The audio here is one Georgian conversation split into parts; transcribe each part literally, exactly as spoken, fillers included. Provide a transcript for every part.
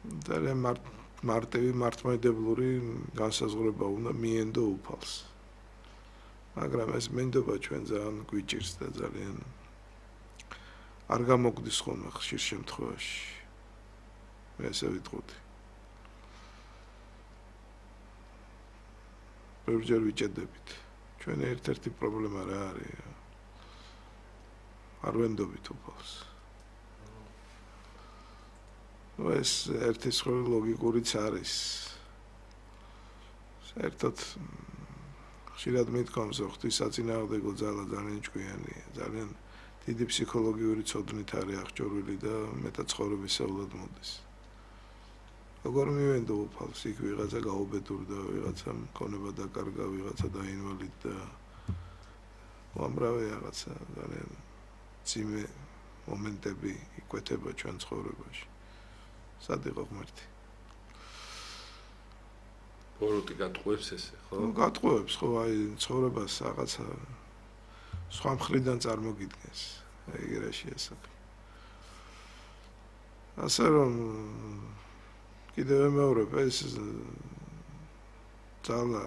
ძალიან მარტივი მართლმადიდებლური განსაზღვრება უნდა მიენდო უფალს. მაგრამ ეს მინდობა ჩვენ ძალიან გვიჭირს და ძალიან არ გამოგვდის ხოლმე ხშირ შემთხვევაში. მე ესე ვიტყოდი. ბევრჯერ ვიჭედებით. ჩვენ ერთ-ერთი პრობლემა რა არის? არ ვენდობით უფალს. ეს ერთი სხვა ლოგიკურიც არის. საერთოდ ხშირად მithkoms, რომ ღვთისაწინააღმდეგო ძალა ძალიან ჭკვიანია, ძალიან დიდი ფსიქოლოგიური ცოდნით არის აღჭურვილი და მეტად ცხოვრებისეულად მოდის. როგორ მივენდო უფალს, იქ ვიღაცა გაუბედურდა, ვიღაცა მქონება დაკარგა, ვიღაცა დაინვალიდდა. უამრავი რაღაცა ძალიან ძიმე მომენტები იკვეთება ჩვენ ცხოვრებაში. სად იყო ღმერთი? ბოროტი გატყუებს ესე, ხო? ნუ გატყუებს, ხო, აი ცხოვრებას რაღაცა სხვა მხრიდან წარმოგიდგენს. ეგ რაში ესაკ. ასე რომ კიდევ ვიმეორებ, ეს ძალა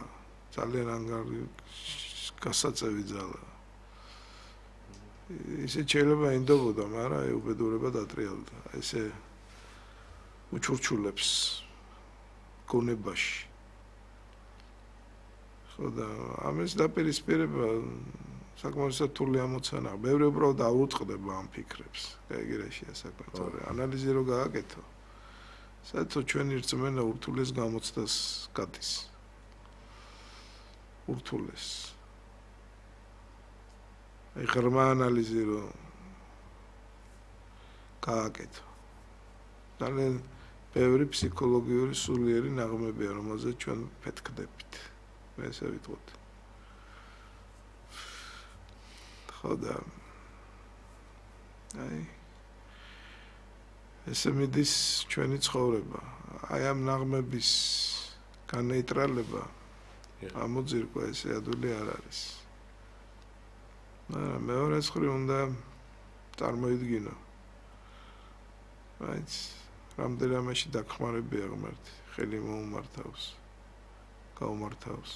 ძალიან ანგარი გასაწევი ძალა. ისე შეიძლება ინდობოდა, მაგრამ აი უბედურება დატრიალდა. ესე უჩურჩულებს გონებაში. ხო და ამის დაპირისპირება საკმაოდ რთული ამოცანაა. ბევრი უბრალოდ აუწყდება ამ ფიქრებს. გაიგერაშია საქმე, თორე ანალიზი რო გააკეთო. საერთოდ ჩვენი რწმენა ურთულეს გამოცდას გადის. ურთულეს. აი ღრმა ანალიზი რო გააკეთო. ძალიან ბევრი ფსიქოლოგიური სულიერი ნაღმებია, რომელზეც ჩვენ ფეთქდებით. მე ესე ვიტყოდი. ხო და აი ესე მიდის ჩვენი ცხოვრება. აი ამ ნაღმების განეიტრალება ამოძირკვა ესე ადვილი არ არის. მაგრამ მეორე მხრივ უნდა წარმოიდგინო. აიც რამდენიმეში დახმარებია ღმერთი, ხელი მოუმართავს, გაუმართავს.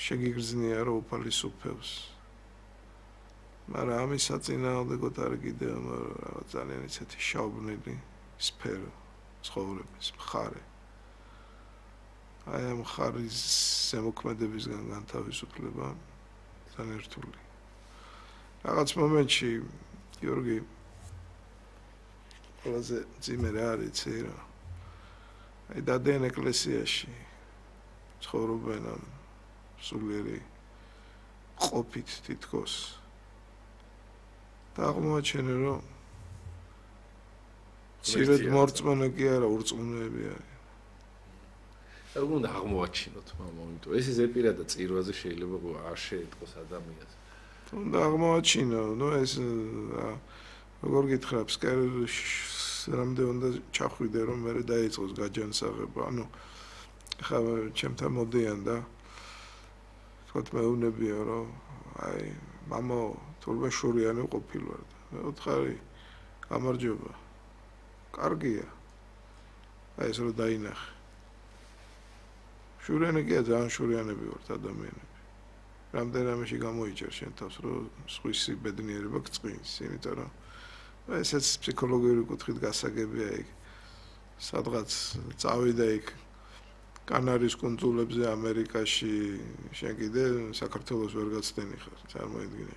შეგიგრძნია რომ უფალი სუფევს. მაგრამ ამის საწინააღმდეგოდ არის კიდევ რაღაც ძალიან ისეთი შაუბნილი სფერო ცხოვრების მხარე. აი ამ მხარის ზემოქმედებისგან განთავისუფლება ძალიან რთული. რაღაც მომენტში გიორგი ყველაზე ძიმე რა არის იცი რა. აი დადიან ეკლესიაში ცხოვრობენ ამ სულიერი ყოფით თითქოს. და აღმოაჩენენ რომ ცირედ მორწმუნე კი არა, ურწმუნოები არის. რა უნდა აღმოაჩინოთ მამა, იმიტომ ეს ზეპირა და წირვაზე შეიძლება არ შეეტყოს ადამიანს. უნდა აღმოაჩინო, ნუ ეს როგორ გითხრა, რამდენი უნდა ჩახვიდე რომ მე დაიწყოს გაჯანსაღება. ანუ ხა ჩემთან მოდიან და თქოთ მეუბნებია რომ აი მამა თურმე შურიანი ყოფილვარ და მე ვთხარი გამარჯობა. კარგია. აი ეს რომ დაინახე. შურიანი კი ძალიან შურიანები ვართ ადამიანები. რამდენიმეში გამოიჭერ შენ თავს რომ სხვისი ბედნიერება გწყინს, იმიტომ რომ ესეც ფსიქოლოგიური კუთხით გასაგებია იქ. სადღაც წავიდა იქ კანარის კუნძულებზე ამერიკაში, შენ კიდე საქართველოს ვერ გაცდენი ხარ, წარმოიდგინე.